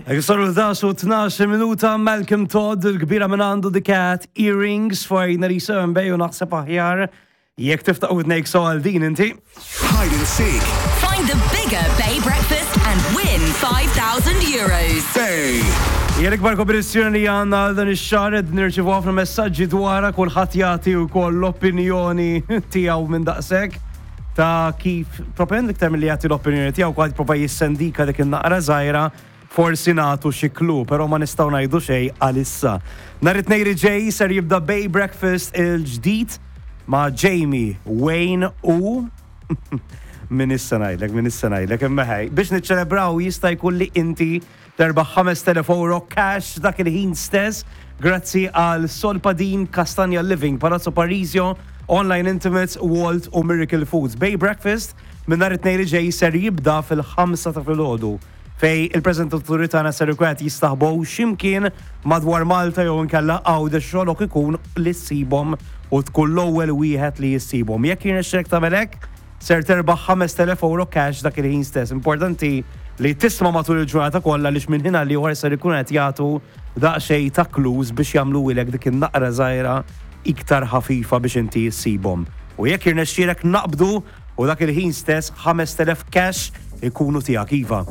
Saru 11 u 12 minuta Malcolm Todd, il-kbira minn għandu The Cat Earrings for 97 Bay u naħseb aħjar jekk tiftaħ widnejk so għal din inti. Hide and seek. Find the bigger Bay Breakfast and win 5,000 euros. Bay. Hija l-ikbar kompetizzjoni li għandna għal dan ix-xahar qed nirċievu ħafna messaġġi dwarha kulħadd jagħti wkoll l-opinjoni tiegħu minn daqshekk ta' kif propend iktar milli jagħti l-opinjoni tiegħu kulħadd jipprova jissendika dik in-naqra żgħira forsi nagħtu xi clue, però ma nistgħu ngħidu xejn għalissa. Nhar it-Tnejn li ġej ser jibda Bay Breakfast il-ġdid ma' Jamie, Wayne u min issa ngħidlek, min issa ngħidlek, imma ħej, biex niċċelebraw jista' jkun li inti terbaħ 5,000 euro cash dak il-ħin stess grazzi għal Solpadin, Castagna Living, Palazzo Parisio, Online Intimates, Walt u Miracle Foods. Bay Breakfast minn nhar it-Tnejn li ġej ser jibda fil-5 ta' filgħodu fej il-preżentaturi tagħna ser ikun qed jistaħbow x'imkien madwar Malta jew inkella Għawdex xogħlok ikun li ssibhom u tkun l-ewwel wieħed li ssibhom. Jekk jirnexxilek tagħmel hekk, ser terbaħ 5,000 euro cash dak il-ħin stess. Importanti li tisma' matul il-ġurnata kollha għaliex minn ħin għal ieħor ser ikun qed jagħtu daqsxejn ta' clues biex jagħmluhilek dik in-naqra żgħira iktar ħafifa biex inti ssibhom. U jekk jirnexxielek naqbdu u dak il-ħin stess 5,000 cash ikunu tiegħek iva.